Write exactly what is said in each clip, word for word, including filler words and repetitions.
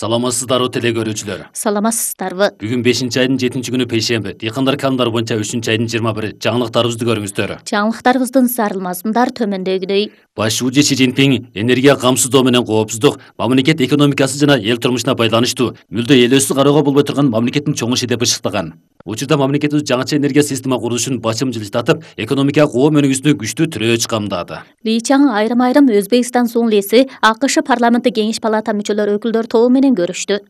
Саламатсыздарбы теле көрүүчүлөр. Саламатсыздарбы. Бүгүн бешинчи айдын жетинчи күнү пейшемби. Дыйкандар канундары боюнча үчүнчү айдын жыйырма бири. Жаңылыктарыбызды көрүңүздөр. Жаңылыктарыбыздын зарыл мазмундар төмөндөгүдөй. Баш шууju Си Цзиньпин энергия камсыздоо менен коопсуздук мамлекет экономикасы жана эл турмушуна байланыштуу мүлдө элөөсүз кароого болбой турган мамлекеттин чоң иши деп ышыктаган. Учурда мамлекетибиз жаңыча энергия система курулушун бачым жылжытатып, экономикалык оо өнүгүүсүнө күчтүү тирөөч камдады. Ли Чаң айрым-айрым Өзбекстан Сунглиси АКШ парламенти кеңеш палата мүчөлөрү өкүлдөр тобу менен көрүштү.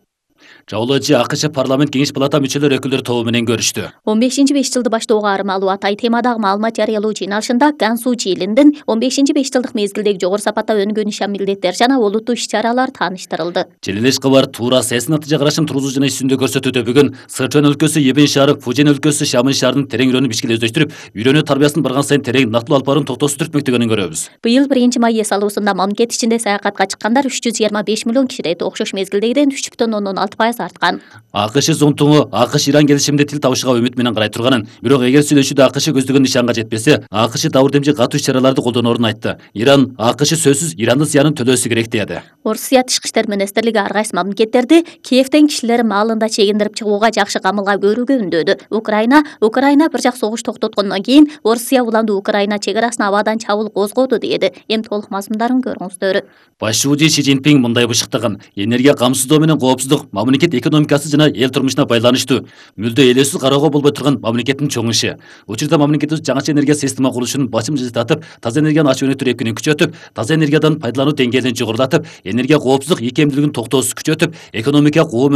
Жаулоочу АКШ парламент кеңеш палата мүчөлөр өкүлдөр тобу менен көрүштү. он бешинчи беш жылды баштоого армалуу атай темадагы маалымат жарыялоо жыйналышында Ган Су Чжи Илиндин он бешинчи беш жылдык мезгилдеги жогору сапатта өнүгөн ишан милдеттер жана олуттуу иш-чаралар тааныштырылды. Желелеш кабар туура саясий натыйжа карашын тургузуу жана иш жүзүндө көрсөтүүдө бүгүн Сычуань өлкөсү Ебен шаары, Фужен өлкөсү Шамын шаарынын терең үйрөнүп ишке өздөштүрүп, үйрөнүү тарбиясын барган сайын терең нактылуу алып барууну токтоосуз түртмөктөгөнүн көрөбүз. Быйыл биринчи май эс алуусунда мамлекет ичинде саякатка чыккандар үч жүз жыйырма беш миллион кишиден окшош мезгилдегиден үч бүтүн ондон алты пайыз арткан. АКШ зонтугу АКШ Иран келишиминде тил табышууга үмүт менен карай турганын, бирок эгер сүйлөшүүдө АКШ көздөгөн нишанга жетпесе, АКШ дабыр демчи катуу иш-чараларды колдоноорун айтты. Иран АКШ сөзсүз Ирандын зыянын төлөөсү керек деди. Орусия тышкы иштер министрлиги ар кайсы мамлекеттерди Киевден кишилер маалында чегиндирип чыгууга жакшы камылга көрүүгө үндөдү. Украина Украина бир жак согуш токтоткондон кийин Орусия уланды Украина чек арасына абадан чабуул козгоду деди. Эми толук мазмундарын көрүңүздөр. Баш шууju Си Цзиньпин мындай бышыктаган: энергия камсыздоо менен коопсуздук мамлекет экономикасы жана эл турмушуна байланыштуу мүлдө элөөсүз кароого болбой турган мамлекеттин чоң иши. Учурда мамлекетибиз жаңыча энергия система курулушун бачым жылжытатып, таза энергияны ачып өнүктүрүү эркинин күчөтүп, таза энергиядан пайдалануу деңгээлин жогорулатып, энергия коопсуздук ийкемдүүлүгүн токтоосуз күчөтүп, экономикалык оо